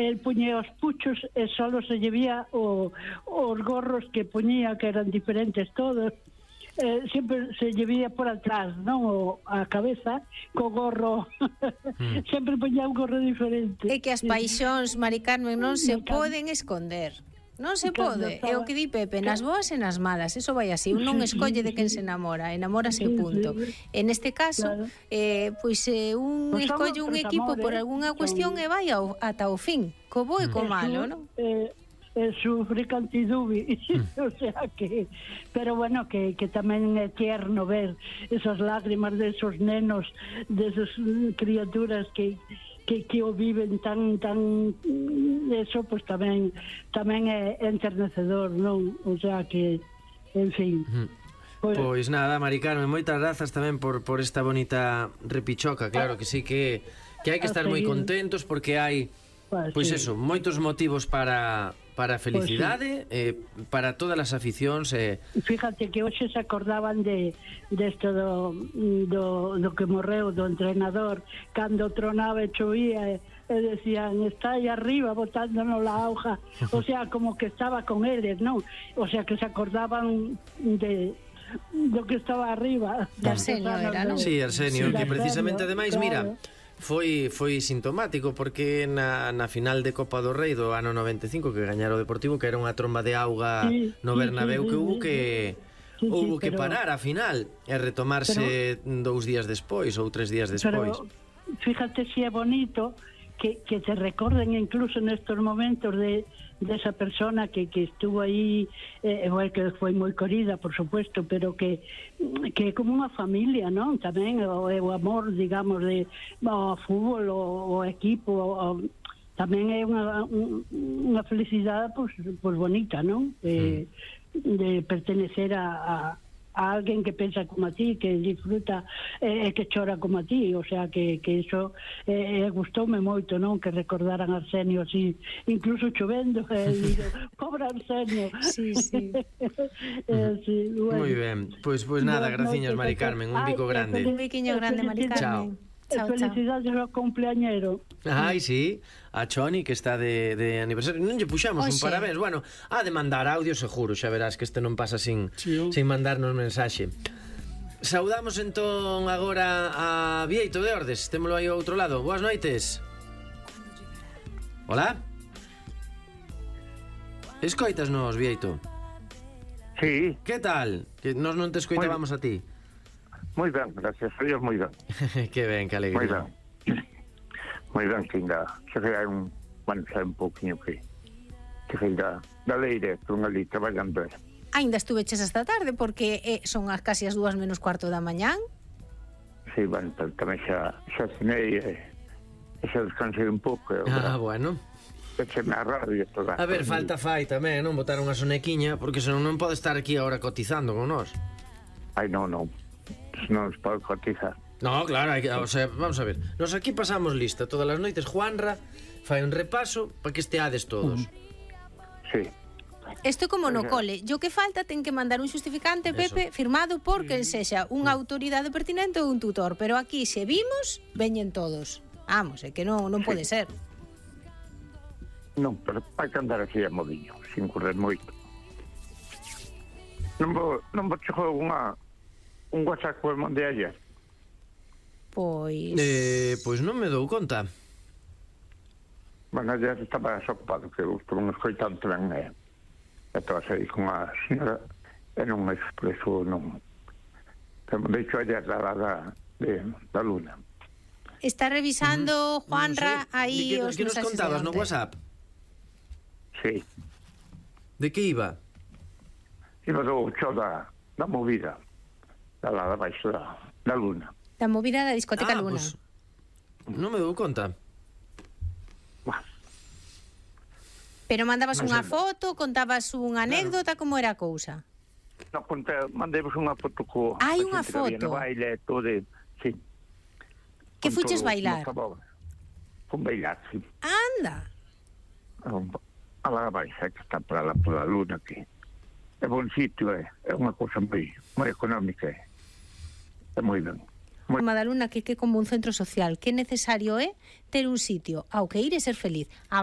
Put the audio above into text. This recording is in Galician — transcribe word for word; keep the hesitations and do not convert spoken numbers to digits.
el puñía os puchos e solo se llevía o, os gorros que puñía, que eran diferentes todos. Eh, sempre se llevía por atrás, non? O, a cabeza, co gorro. mm. Sempre poñía un gorro diferente. É que as paixóns, Mari Carmen, non se poden esconder. Non se pode, é o que di Pepe, nas boas e nas malas, eso vai así, un non escolle de quen se enamora, enamórase punto. En este caso, eh, pois eh, un escolle un equipo por algunha cuestión e vai ao, ata o fin, co bo e co malo, non? Eh, eh, sufre cantidubi, o sea que, pero bueno, que, que tamén é tierno ver esas lágrimas de esos nenos, de esas criaturas que que, que o viven tan tan eso, pues tamén tamén é enternecedor, non? O sea que, en fin. Uh-huh. Pois pues nada, Mari Carmen, moitas grazas tamén por, por esta bonita repichoca. Claro que sí que, que hai que estar moi contentos porque hai, pois pues sí. eso, moitos motivos para para a felicidade, pues sí. eh, para todas as aficións. Eh. Fíjate que hoxe se acordaban de desto do, do, do que morreu do entrenador cando tronaba e chovía e, e decían, está aí arriba botándonos la auja, o sea, como que estaba con eles, non? O sea, que se acordaban de do que estaba arriba. De Arsenio era, non? Sí, Arsenio, que precisamente ademais, claro. Mira, foi foi sintomático porque na, na final de Copa do Rei do ano noventa e cinco que gañara o Deportivo, que era unha tromba de auga sí, no Bernabéu, sí, sí, que hubo que sí, sí, houve que pero, parar a final e retomarse pero, dous días despois ou tres días despois. Pero fíjate si é bonito que, que te recorden incluso nestos momentos de de esa persona que, que estuvo aí, eh, bueno, que foi moi querida, por supuesto, pero que que é como unha familia, non? Tamén o, o amor, digamos, de o fútbol, o, o equipo, o, tamén é unha unha felicidade pois, pois bonita, non? De, mm. de pertenecer a, a a alguén que pensa como a ti, que disfruta e eh, que chora como a ti, o sea que, que iso eh, gustoume moito, non? Que recordaran a Arsenio así, incluso chovendo, eh, digo, pobre Arsenio. Sí, sí. eh, sí bueno. Moi ben, pois pues, pues nada, no, graciños, no, Mari Carmen, un bico grande. Un biquiño grande, Mari Carmen. Chao. Chao, felicidades ao cumpleañero. Ai, sí, a Choni que está de, de aniversario. Non lle puxamos oh, un parabéns. Bueno, ha de mandar audio seguro, xa verás que este non pasa sin, sí, oh. sin mandarnos mensaxe. Saudamos entón agora a Bieito de Ordes. Témolo aí ao outro lado. Boas noites. Hola. Escoitasnos, Bieito? Sí. Que tal? Que nos non te escoitábamos a ti. Moi ben, gracias a Dios, moi ben. Que ben, que alegría. Moi ben. Moi ben, que ainda se fai un, bueno, xa un pouquinho que que fai da, da leire, por unha ali traballando. Ainda estuveches esta tarde, porque eh, son as casi as dúas menos cuarto da mañán. Sí, bueno, tamén xa, xa cenei e, e xa descansei un pouco. Ah, bueno. Echeme a radio toda. A ver, falta fai tamén, non? Botar unha sonequiña, porque senón non pode estar aquí agora cotizando con nós. Ai, non, non. Non se pode cotizar. No, claro, hai que, o sea, vamos a ver. Nos aquí pasamos lista todas as noites. Juanra fai un repaso para que esteades todos. Sí. Isto é como no cole. Yo que falta ten que mandar un xustificante, Pepe, eso, firmado por quen sexa unha autoridade pertinente ou un tutor. Pero aquí, se vimos, veñen todos. Vamos, é que non, non pode sí. ser. Non, pero hai que andar así a modiño, sin correr moito. Non vou, non vou chego unha un WhatsApp que mandei ayer. Pois... Eh, pois non me dou conta. Bueno, ayer estaba desocupado, que eu estou escoitando tamén, e estaba aí con a señora, e non me expreso, non... Que me deixo ayer da, da, de, da Luna. Está revisando, uh-huh. Juanra, no sé. Aí que, os que nos contabas no WhatsApp? Sí. De que iba? Iba do xo da, da movida. Da lá, da baixo da, da Luna. Da movida da discoteca ah, Luna. Pues, non me dou conta. Bueno. Pero mandabas unha foto, contabas unha anécdota, claro. Como era a cousa? No, conté, mandemos unha foto co... Hai unha foto? No baile, todo, sí. Que fuches bailar? Con bailar, sí. Anda. A la baixa, que está por la, por la Luna, que é bon sitio, é, é unha cousa moi, moi económica, é, é moi ben. Moi... Madaluna, que que como un centro social, que necesario é ter un sitio ao que ir e ser feliz. A